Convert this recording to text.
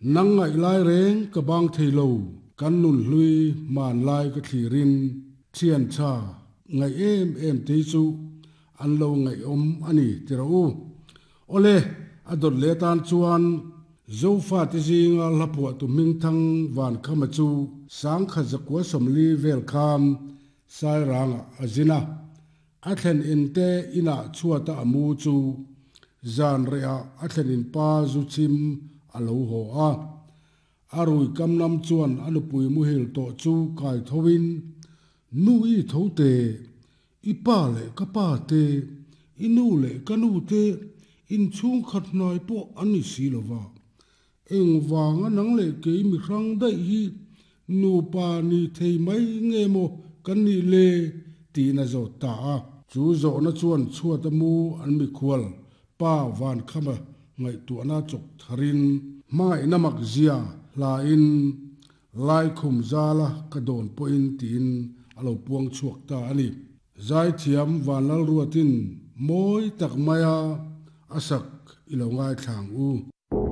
Nang ngaih lai reng ka bang thei lo, kan nun hlui hmanlai ka thlirin thian tha ngaih em em te hi chu an lo ngaihawm a ni ti rawh u. Awle, a dawt leh atan chuan Zofate zinga hla phuahtu hmingthang Vankhama chu 1940 vel khan Sairangah a zin a. A thlen in te inah chhuata a mu chu zan rehah a thlen in pa zu chhim a lo haw a. A rui kam lam chuan a nupui muhil tawh chu kai thoin, Nu i tho te, i pa leh ka pa te, i nu leh ka nu te inchhungkhat hnai pawh an ni si lo va. Engvanga nang leh kei mi hrang daih hi nupa ni thei mai nge maw kan nih le? tiin a zawt ta a. Chu zawhna chuan chhuata mu an mikhual pa Vankhama ngaihtuahna chawk tharin hmangaihna mak zia hlain Laikhum zala ka dawn pawhin tiin a lo puang chhuak ta a ni. Zaithiam Vanlalruatin mawi tak maia a sak i lo ngaithla ang u.